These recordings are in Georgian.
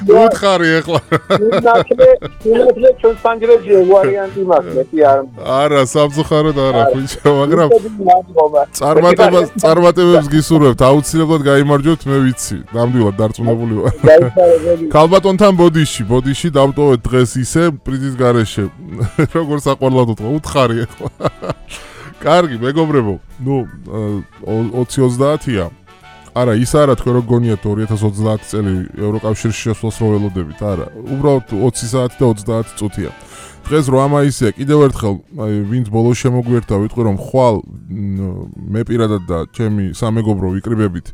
უთხარი ეხლა. ნაკლე ჩვენ სანჯრებში ვარიანტი მაქვს, კი არა. არა, სამწუხაროდ არა, ხუჭო, მაგრამ წარმატებებს გისურვებთ, აუცილებლად გაიმარჯვებთ, მე ვიცი. ნამდვილად დარწმუნებული ვარ. ქალბატონთან ბოდიში დავტოვეთ დღეს ისე პრიზის გარეშე. როგორ საყვარლად უთქვა, უთხარი ეხლა. კარგი, მეგობრებო. 20-30-ია. არა, ის არა თქვენ რო გონიათ 2030 წელი ევროკავშირში შესვლას რო ველოდებით, არა. უბრალოდ 20 საათი და 30 წუთია. დღეს 8 მაისია, კიდევ ერთხელ, ვინც ბოლოს შემოგვიერთდა, ვიტყვი რომ ხვალ მე პირადად და ჩემი სამეგობრო ვიკრიბებით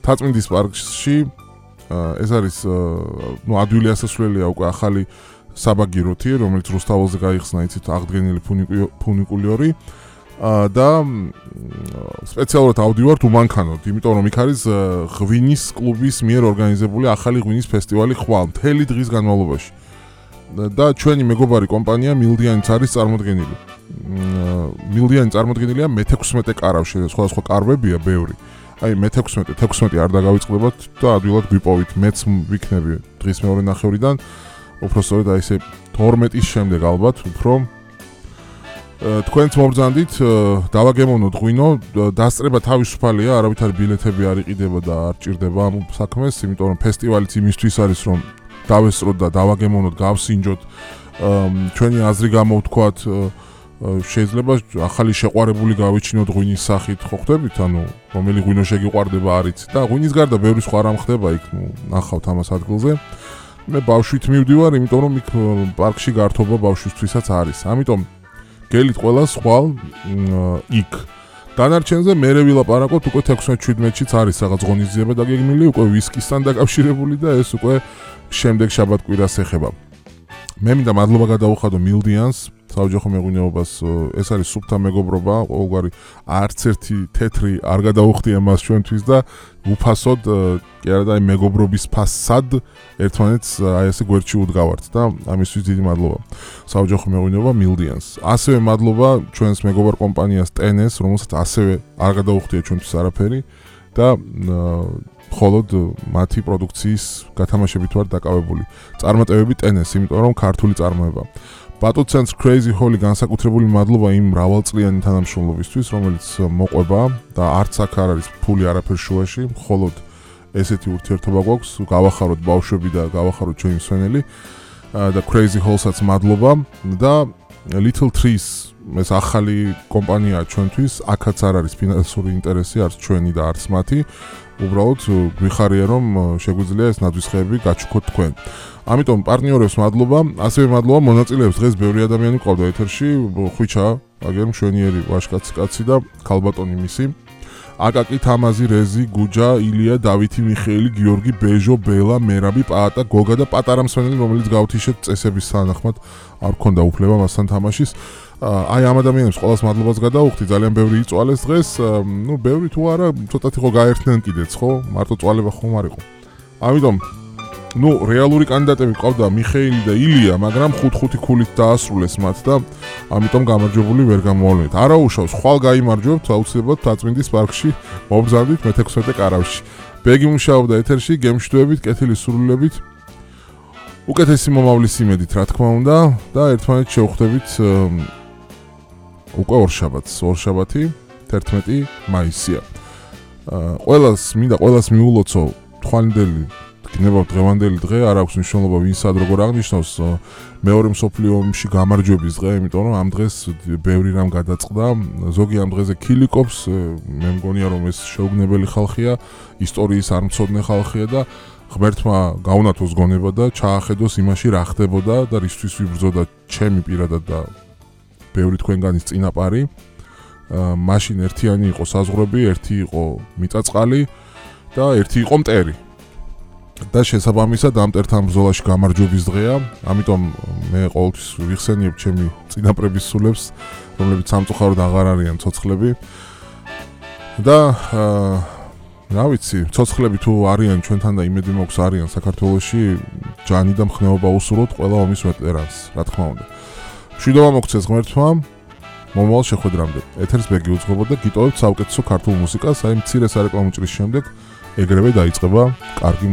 თაწმინდის პარკში. ეს არის ადვილი ასასვლელია უკვე ახალი საბაგიროთი, რომელიც რუსთაველზე გაიხსნა, იცით, აღდგენილი ფუნიკულიორი. და სპეციალურად ავდივართ უმანქანოდ, იმიტომ რომ იქ არის ღვინის კლუბის მიერ ორგანიზებული ახალი ღვინის ფესტივალი ხვალ მთელი დღის განმავლობაში. და ჩვენი მეგობარი კომპანია მილდიანიც არის წარმოდგენილი. მილდიანი წარმოდგენილია მე-16 კარავში, სხვადასხვა კარვებია ბევრი. აი მე-16 არ დაგავიწყდებათ და ადვილად გვიპოვით, მეც ვიქნები დღის მეორე ნახევრიდან, უფრო სწორედ აი ესე 12-ის შემდეგ ალბათ, უფრო თქვენც მობრძანდით, დავაგემოვნოთ ღვინო, დასწრება თავისუფალია, არავითარი ბილეთები არ იყიდება და არ ჭირდება ამ საქმეს, იმიტომ რომ ფესტივალიც იმისთვის არის, რომ დავესწროთ და დავაგემოვნოთ, გავსინჯოთ, ჩვენი აზრი გამოვთქვათ, შეიძლება ახალი შეყვარებული გავიჩინოთ ღვინის სახით, ხო ხდებით, ანუ რომელი ღვინო შეგიყვარდება არიც და ღვინის გარდა ბევრი სხვა რამ ხდება იქ, ნახავთ ამას ადგილზე. მე ბავშვით მივდივარ, იმიტომ რომ იქ პარკში გართობა ბავშვისთვისაც არის. ამიტომ გელით ყველა ხვალ იქ. დანარჩენზე მერე ვილაპარაკოთ, უკვე 16-17-შიც არის რაღაც ღონისძიება დაგეგმილი, უკვე ვისკისთან დაკავშირებული და ეს უკვე შემდეგ შაბათ-კვირას ეხება. მე მინდა მადლობა გადაუხადო მილდიანს, საოჯახო მეღვინეობას, ეს არის სუფთა მეგობრობა, ყოველგვარი არც ერთი თეთრი არ გადაუხდია მას ჩვენთვის და უფასოდ, კი არა და აი მეგობრობის ფასად ერთმანეთს აი ესე გვერდში უდგავართ და ამისთვის დიდი მადლობა. საოჯახო მეღვინეობა მილდიანს. ასევე მადლობა ჩვენს მეგობარ კომპანიას TNS, რომელსაც ასევე არ გადაუხდია ჩვენთვის არაფერი და მხოლოდ მათი პროდუქციის გათამაშებით ვარ დაკავებული. წარმატებები TNS, იმიტომ რომ ქართული წარმოება. Battle Crazy Holly განსაკუთრებული მადლობა იმ მრავალწლიანი თანამშრომლობისთვის, რომელიც მოყვება და არც აქ არ არის ფული არაფერ შუაში, მხოლოდ ესეთი ურთიერთობა გვაქვს, გავახაროთ ბავშვები და გავახაროთ ჩვენი მსვენელი და Crazy Hall-საც მადლობა და Little Trees, ეს ახალი კომპანია ჩვენთვის, აქაც არ არის ფინანსური ინტერესი, არც ჩვენი და არც მათი. უბრალოდ გვიხარია რომ შეგვიძლია ეს ნაძვისხეები გაჩუქოთ თქვენ. ამიტომ პარტნიორებს მადლობა, ასევე მადლობა მონაწილეებს, დღეს ბევრი ადამიანი ყავდა ეთერში, ხვიჩა, აგერ მშვენიერი ვაჟკაცი კაცი და ქალბატონი მისი. აკაკი, თამაზი, რეზი, გუჯა, ილია, დავითი, მიხეილი, გიორგი, ბეჟო, ბელა, მერაბი, პაატა, გოგა და პატარა მსვენელი, რომელიც გავთიშეთ წესების თანახმად არ გქონდა უფლება მასთან თამაშის. აი ამ ადამიანებს ყველას მადლობას გადაუხდი, ძალიან ბევრი იწვალეს დღეს, ბევრი თუ არა, ცოტათი ხო გაერთნენ კიდეც, ხო? მარტო წვალება ხომ არ იყო. ამიტომ რეალური კანდიდატები ყავდა მიხეილი და ილია, მაგრამ 5-5 ქულით დაასრულეს მათ და ამიტომ გამარჯვებული ვერ გამოავლინეთ. არა უშავს, ხვალ გაიმარჯვებთ, აუცილებლად თაწმინდის პარკში მობრძანდით მე-16 კარავში. ბეგი მუშაობდა ეთერში, გემშვიდობით, კეთილი სურვილებით. უკეთესი მომავლის იმედით, რა თქმა უნდა, და ერთმანეთს შევხვდებით უკვე ორშაბათი, 11 მაისია. ყველას მიულოცო თვალინდელი გნებავ დღევანდელი დღე, არ აქვს მნიშვნელობა ვინ სად როგორ აღნიშნავს მეორე მსოფლიო ომში გამარჯვების დღე, იმიტომ რომ ამ დღეს ბევრი რამ გადაწყდა, ზოგი ამ დღეზე ქილიკობს, მე მგონია რომ ეს შეუგნებელი ხალხია, ისტორიის არ მცოდნე ხალხია და ღმერთმა გაუნათოს გონება და ჩაახედოს იმაში რა ხდებოდა და რისთვის ვიბრძოდა ჩემი პირადად და ბევრი თქვენგანის წინაპარი. მაშინ ერთიანი იყო საზღვრები, ერთი იყო მიწაწყალი და ერთი იყო მტერი. და შესაბამისად ამ მტერთან ბრძოლაში გამარჯვების დღეა, ამიტომ მე ყოველთვის ვიხსენიებ ჩემი წინაპრების სულებს, რომლებიც სამწუხაროდ აღარ არიან ცოცხლები. და რა ვიცი, ცოცხლები თუ არიან ჩვენთან და იმედი მაქვს არიან საქართველოში, ჯანი და მხნეობა უსურვოთ ყველა ომის ვეტერანს, რა თქმა უნდა. მშვიდობა მოგცეს ღმერთმა, მომავალ შეხვედრამდე. ეთერს ბეგი უძღვებოდა და გიტოვებთ საუკეთესო ქართულ მუსიკას, აი მცირე სარეკლამო ჭრის შემდეგ ეგრევე დაიწყება კარგი